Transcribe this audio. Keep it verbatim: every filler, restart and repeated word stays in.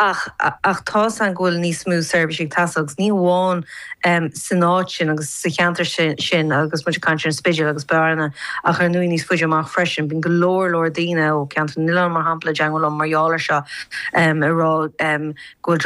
Ach ach tá an go bhfuil níos mó seirbhísí ag teastáil agus ní amháin um, san áit sin agus sa cheantar sin, sin agus muid ag caint ar an Spidéal agus Bearna ach ar ndóigh níos faide amach freisin, bíonn go leor leor daoine ó Cheantar na nOileán mar shampla teagmháil liom mar gheall air seo um, ag rá um, go bhfuil